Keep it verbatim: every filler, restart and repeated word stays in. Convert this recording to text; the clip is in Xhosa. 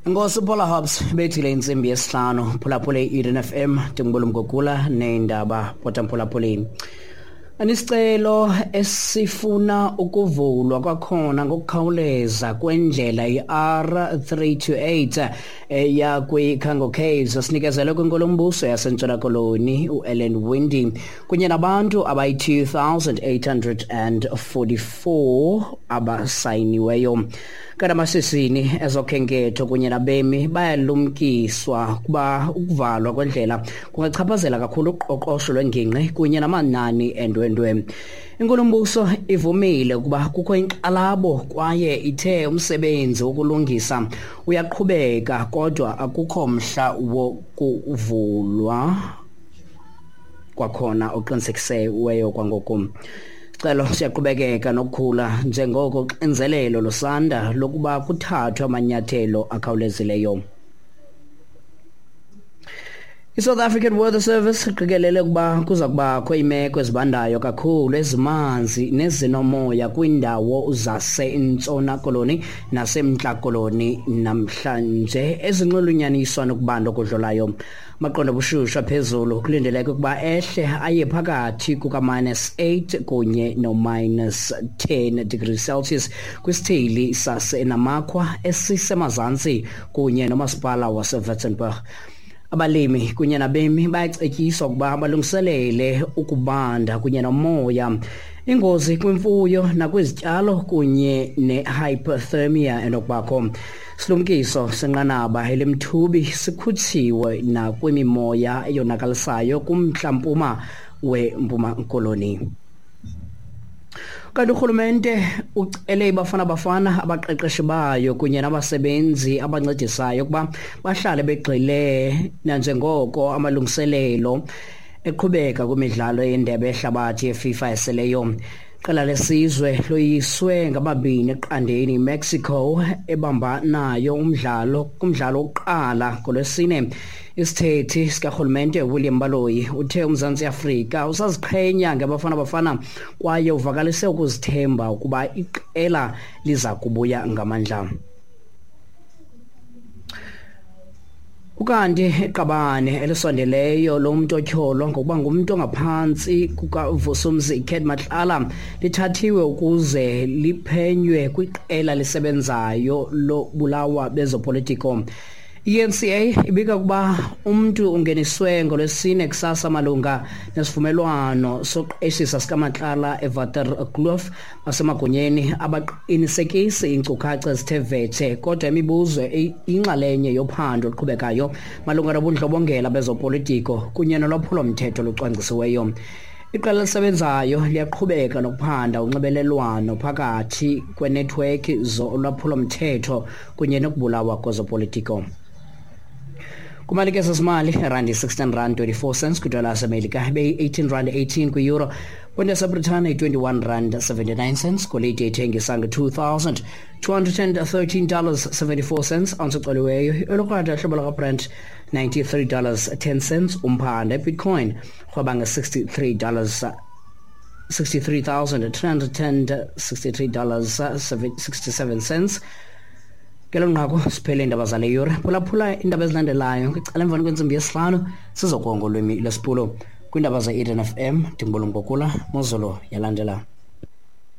Nkosi Paula Hobbs bethile intsimbi yesihlanu. Phulaphule i-Eden F M, ndingubulumgogula neendaba potamphulaphuleni. Anisicelo esifuna ukuvulwa kwakhona ngokukhawuleza kwendlela i-R three two eight eya kwiCango Caves sinikezelwe kwinkulumbuso yaseNtshona Koloni uEllen Windey kunye nabantu abayi-two thousand eight hundred and forty-four abasayiniweyo. Kanti amashishini ezokhenketho kunye nabemi bayalumkiswa kuba ukuvalwa kwendlela kungachaphazela kakhulu uqoqosho lwengingqi kunye namanani endwendwe. Inkulumbuso ivumile ukuba kukho inkxalabo kwaye ithe umsebenzi wokulungisa uyaqhubeka kodwa akukho mhla wokuvulwa kwakhona oqinisekisiweyo kwangoku. Sicelo siyaqhubekeka nokukhula njengoko uxinzelelo lusanda lokuba kuthathwe amanyathelo akhawulezileyo. I-South African Weather Service iqikelele ukuba kuza kubakho iimeko ezibandayo kakhulu ezimanzi nezinomoya kwiindawo zaseNtshona Koloni naseMntla Koloni namhlanje ezinxulunyaniswa nokubanda okudlulayo. Amaqondo obushushu aphezulu kulindeleke ukuba ehle aye phakathi kuka-minus eight kunye no-minus ten degrees Celsius kwisithili saseNamakwa esisemazantsi kunye nomasipala waseWitzenberg. Abalimi kunye nabemi bayacetyiswa ukuba balungiselele ukubanda kunye nomoya, ingozi kwimfuyo nakwizityalo kunye ne-hypothermia enokubakho. Silumkiso senqanaba elimthubi sikhutshiwe nakwimimoya eyonakalisayo kumntla-mpuma weMpuma Koloni. Kanti urhulumente ucele iBafana Bafana, abaqeqeshi bayo kunye nabasebenzi abancedisayo ukuba bahlale begxile nanjengoko amalungiselelo eqhubeka kwimidlalo yendebe yehlabathi yeFIFA eseleyo. Iqela lesizwe loyiswe ngababini eqandeni iMexico ebambanayo umdlalo kumdlalo wokuqala ngoLwesine. Isithethi sikarhulumente William Baloyi uthe uMzantsi Afrika usaziqhenya ngaBafana Bafana kwaye uvakalise ukuzithemba ukuba iqela liza kubuya ngamandla. Ukanti iqabane elisondeleyo lomntu otyholwa ngokuba ngumntu ongaphantsi kukaVusumzi Cat Matlala lithathiwe ukuze liphenywe kwiqela lisebenzayo lobulawa bezopolitiko. I N C A ibika ukuba umntu ungeniswe ngoLwesine kusasa malunga nesivumelwano soqeshisa sikaMatlala eWaterkloof. Basemagunyeni abaqinisekisi iinkcukacha ezithe vetshe, kodwa imibuzo inxalenye yophando oluqhubekayo malunga nobundlobongela bezopolitiko kunye nolwaphulomthetho olucwangcisiweyo. Iqela elisebenzayo liyaqhubeka nokuphanda unxibelelwano phakathi kwenethiwekhi zolwaphulomthetho kunye nokubulawa kwezopolitiko. Kumalike sesimali, randi sixteen rand twenty-four cents kwidola yaseMelika, ibeyi-eighteen rand eighteen kwi-euro, kwinto yaseBritane i-twenty-one rand seventy-nine cents, golide ithengisa nge-two thousand two hundred and thirteen dollars seventy-four cents, ounce ecoliweyo, elokrwada hlobo lakaBrent ninety-three dollars ten cents, umphanda Bitcoin rhweba nge-sixty-three dollars sixty-three thousand three hundred and sixty-three dollars sixty-seven cents. Ngelo nqaku siphele iindaba zale yure. Phulaphula iindaba ezilandelayo kwicala emveni kwentsimbi yesihlanu sizokuwa ngolwimi lwesiPulo. Kwiindaba ze-Eden F M ndingubulungokula Mozolo yalandela.